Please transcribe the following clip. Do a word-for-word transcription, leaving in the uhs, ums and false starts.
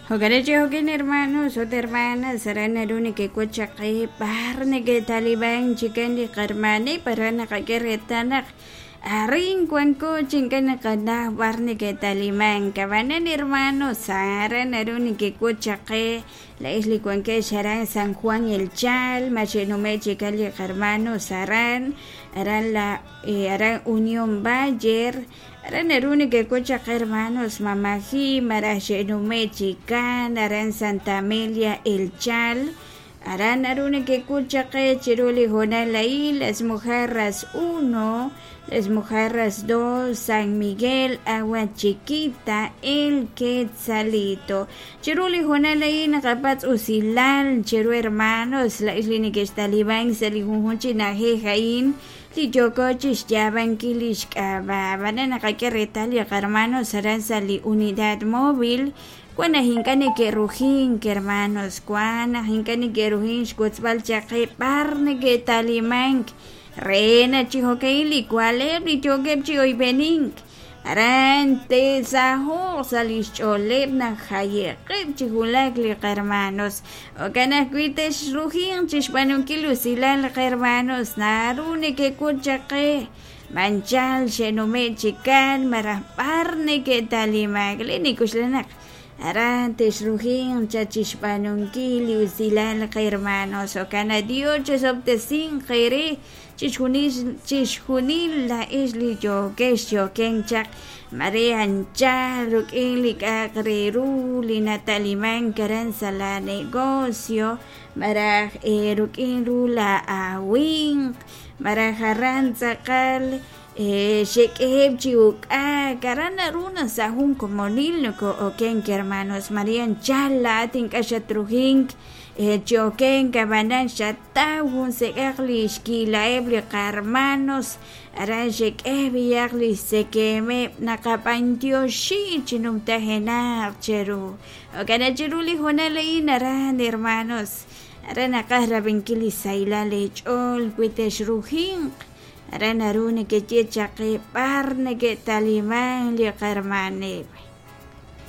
Jo'kan chi jo'kan hermanos ut hermanas aran naru nekek'ut chaq qe b'ar neke'taliban chikan li qarmaneb' aran naqak'e reetal naq arin wanko chi ink'a' naqanaw b'ar neke'talimank ab'anan hermanos aran naru nekek'ut chaq qe laa'ex li wankex aran San Juan El Chal ma xe'nume' chikan li qarmanos aran aran la aran Unión Bayer aran naru nekek'ut chaq qe hermanos mamaji malaj xe'nume' chikan aran Santa Amelia El Chal aran naru nekek'ut chaq qe chiru li hoonal a'in Las Mojarras uno Las Mojarras dos San Miguel Agua Chiquita El Quetzalito chiru li hoonal a'in naqapatz' usilal chiru hermanos laa'ex li neke'xtaliban sa' li junjun chi na'ajej a'in li yooko chixyaabankil li xk'ab'a' ab'anan naqak'e reetal li qarmanos aran sa' li unidad móvil wan naq ink'a' neke'rujink hermanos wan naq ink'a' neke'rujink xwotzb'al chaq qe b'ar neke'talimank re naq chi jo'ka'in li wa'leb' li yookeb' chi oyb'enink aran te'saho'q sa' li xch'ooleb' naq jaye'qeb' chi wulak li qarmanos jo'kan ajwi' texrujinq chixb'aanunkil usilal qarmanos naru nekek'ut chaq qe manchal xe'nume' chikan malaj b'ar neke'talimank li nik'uxla naq aran texrujinq cha chixb'aanunkil li usilal qarmanos jo'kan Dios chesob'tesinq eere chixjunil chixjunil laa'ex li yookex yoken chaq mare anchal ruk'in li k'a'aq re ru li natalimank aran sa' la negocio malaj ruk'in ru la awinq malaj aran tz'aqal xek'eheb' chi uk'ak aran naru naq sa' jun komonil noko'okenk hermanos Maria anchal laa'at ink'a' xatrujink chokenk ab'anan xataw jun sek'aq li xki'la'eb' li qarmanos aran xek'e b'iyaq li xtzekemeb' naqab'antioxi chi numtajenaq cheru jo'kan chiru li hoonal a'in aran hermanos aran naqaj rab'inkil li sahilal eech'ool wi texrujinq aran naru nekeye chaq qe b'ar neke'taliman li qarmaneb'.